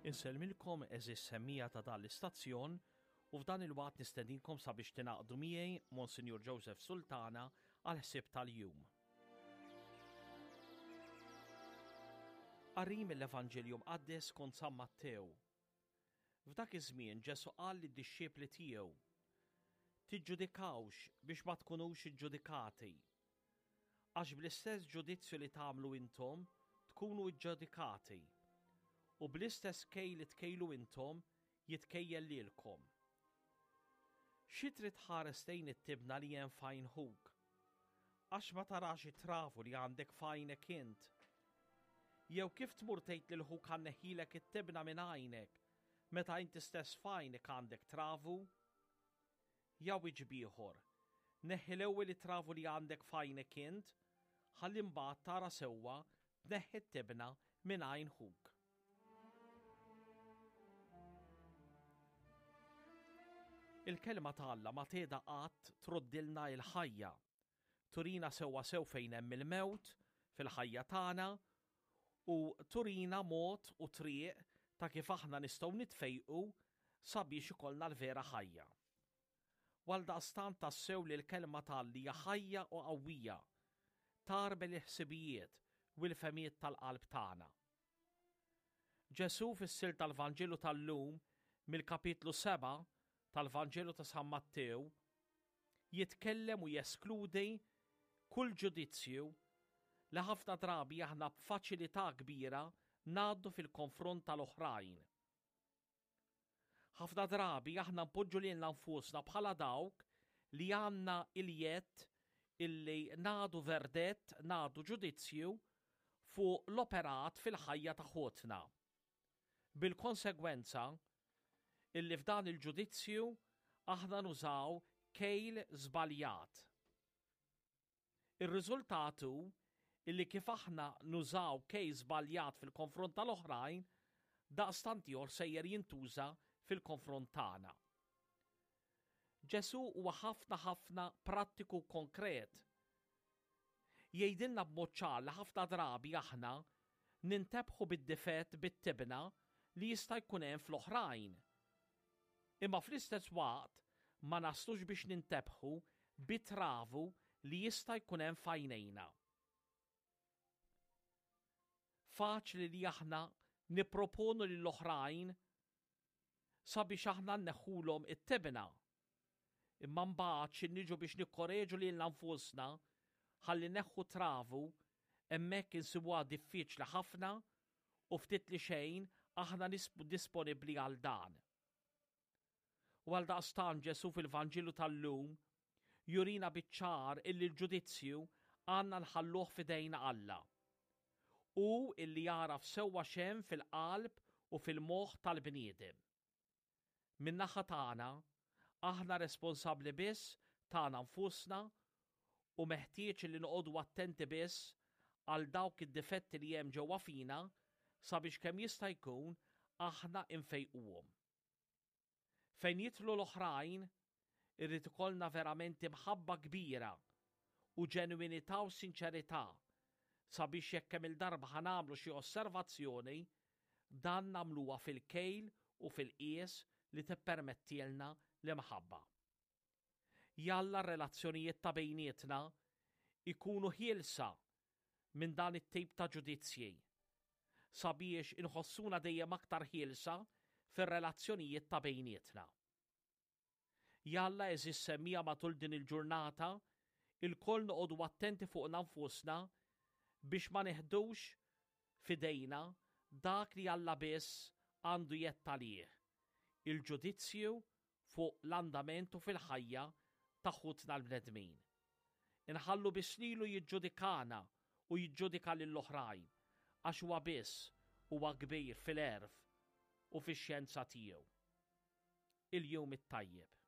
Insellmilkom għeżież semmiegħa ta' dan l-istazzjon u f'dan il-waqt nistedinkom sabiex tingħaqdu miegħi Monsinjur Joseph Sultana għall-ħsieb tal-jum. Qari mill-Evanġelju Mqaddes skont San Mattew. F'dak iż-żmien Ġesù qal lid-dixxipli tiegħu, Tiġġudikawx biex ma tkunux iġġudikati. Għax bl-istess ġudizzju li tagħmlu intom tkunu ġġudikati, u bl-istess kejl li tkejlu intom jitkejjel lilkom. Xi trid tħares lejn it-tibna li hemm f'għajn ħuk? Għax ma tarax it-travu li għandek f'għajnek int? Jew kif tmur tgħid lil ħuk ħa nneħħilek it-tibna minn għajnek, meta inti stess f'għajnek għandek travu? Ja wiċċ b'ieħor, neħħi l-ewwel it-travu li għandek f'għajnek int, ħalli mbagħad tara sewwa tneħħi t-tibna minn għajn ħuk. Il-Kelma ta' Alla ma tgħida qatt troddilna il-ħajja. Turina sewwa sew fejn hemm il-mewt fil-ħajja tagħna u turina mod u triq ta' kif aħna nistgħu nitfejqu sabiex ikollna l-vera ħajja. U għaldaqstant tassew li l-Kelma ta' Alla hija ħajja u qawwija, tgħarbel il-ħsibijiet u l-fehmiet tal-qalb tagħna. Ġesù fis-silta tal-Vanġelu tal-lum mill-kapitlu 7 tal-Vanġelu ta' San Mattew jitkellem u jeskludi kull ġudizzju li ħafna drabi aħna b'faċilità kbira ngħaddu fil-konfront tal-oħrajn. Ħafna drabi aħna npoġġu lilna nfusna bħala dawk li għandna il-jedd illi nagħdu verdett, nagħdu ġudizzju fuq l-operat fil-ħajja ta' ħutna. Bil-konsegwenza illi f'dan il-ġudizzju aħna nużaw kejl żbaljat. Ir-riżultat hu illi kif aħna nużaw kejl żbaljat fil-konfront tal-oħrajn, daqstant ieħor sejjer jintuża fil-konfront tagħna. Ġesù huwa ħafna ħafna prattiku u konkret. Jgħidilna b'mod ċar li ħafna drabi aħna nintebħu bid-difett bit-tibna li jista' jkun hemm fl-oħrajn. Imma fl-istess waqt ma naslux biex nintebħu bit-travu li jista' jkun hemm f'għajnejna. Faċli li aħna nipproponu lill-oħrajn sabiex aħna nneħħulhom it-tibna. Imma mbagħad xi niġu biex nikkoreġu lilna nfusna ħalli neħħu travu, hemmhekk insibuha diffiċli ħafna u ftit li xejn aħna disponibbli għal dan. U għaldaqstant Ġesù fil-Vanġelu tal-lum jurina biċ-ċar illi l-ġudizzju għandna nħalluh f'idejn Alla. Hu illi jagħraf sewwa x'hemm fil-qalb u fil-moħħ tal-bniedem. Min-naħa tagħna, aħna responsabbli biss tagħna nfusna u meħtieġ li noqogħdu attenti biss għal dawk id-difetti li hemm ġewwa fina sabiex kemm jista' jkun aħna nfejquhom. Fejn jidħlu l-oħrajn, irid ikollna verament imħabba kbira u ġenwinità u sinċerità sabiex jekk kemm-il darba ħa nagħmlu xi osservazzjoni, dan nagħmluha fil-kejl u fil-qies li tippermettielna l-imħabba. Jalla r-relazzjonijiet ta' bejnietna jkunu ħielsa minn dan it-tip ta' ġudizzji, sabiex inħossuna dejjem aktar ħielsa fir-relazzjonijiet ta' bejnietna. Jalla għeżież semmiegħa matul din il-ġurnata ilkoll noqogħdu attenti fuqna nfusna biex ma neħdux f'idejna dak li Alla biss għandu jedd għalih, il-ġudizzju fuq l-andament u fil-ħajja ta' ħutna l-bnedmin. Inħallu biss lilu jiġġudikana u jiġġudika lill-oħrajn, għax huwa biss huwa kbir fil-għerf u fix-xjenza tiegħu. Il-jum it-tajjeb.